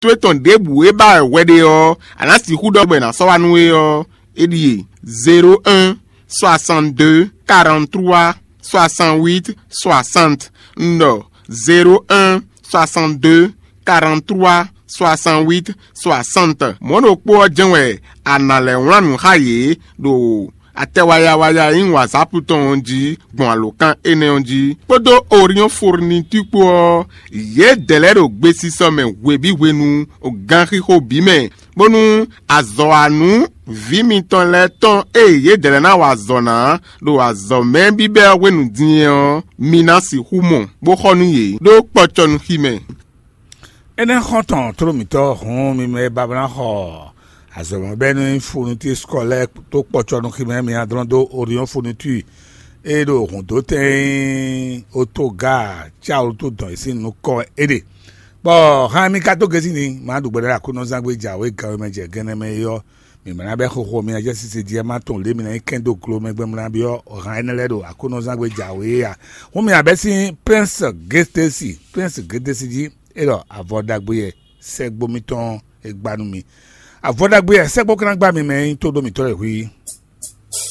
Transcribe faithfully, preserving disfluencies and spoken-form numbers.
towe tɔn ɖěbǔ e ba wɛ hwɛ ɖe ɔ́, a nǎ sixú ɖɔ bɔ è nǎ sɔ́ wá nú we ɔ́, é ɖíe: zéro un, soixante deux, quarante trois, soixante huit, soixante. Un ɖɔ: zéro un, soixante deux, quarante trois, soixante huit, soixante. Mɔ̌ ɖokpó ɔ́ jɛ́n wɛ a nǎ lɛ́ wlán nǔ xá yě ɖo atɛ waya waya e nyí WhatsApp tɔn ɔ́ jí gbɔn alǒkan énɛ́ ɔ́ jí, kpódó Orion Fourniture kpó ɔ́, yědɛɛ lɛ́ɛ ɖo gbesisɔ mɛ hweví hwenu ganxixo bǐ mɛ, bónú azɔ̌wanú vǐ mitɔn lɛ́ɛ tɔn e yědɛɛ lɛ́ɛ ná wa azɔ̌ ná ɖo azɔ̌ mɛ bíbɛ́ ɔ́ hwenu din ɔ́, mi ná sixú mɔ, bó xɔ nú yě ɖó kpɔcɔnuxi mɛ. Énɛ́ xɔ́ntɔn tló mǐtɔn hǔn mi mɛ e ba ná xɔ azɔ̌mɔbɛ́nú e nyí Fourniture Scolaire tó kpɔcɔnuxi mɛ mi ná dlɔ́n dó Orion Fourniture e ɖo hǔndótɛn e nyí Otoga Cawlutu dɔn e sín nukɔn é ɖe. Bɔ hán mi ka dó gezí ni, má ɖu gbɛɖe Aklúnɔzángbe jǎwe gan e mɛ jɛ gɛ́nɛ mɛ é ɔ́, mǐ ma ná bɛ́ xixo mi ná jɛ sise jí ɛ má tɔn lě mi ná nyí kɛn dó glo mɛ gbɛn mlá byɔ́ hán énɛ́ lɛ́ɛ ɖo Aklúnɔzángbe jǎwe é a? Hún mi abɛ́ sín Prince Gétesi, Prince Gétesi jí é ɖɔ avɔ ɖagbe yɛ sɛ́gbó mitɔn e gbá nú mi. Avɔ ɖagbe yɛ sɛ́gbó ka ná gbá mi mɛ e nyí tóɖó mǐtɔn lɛ́ɛ hwí.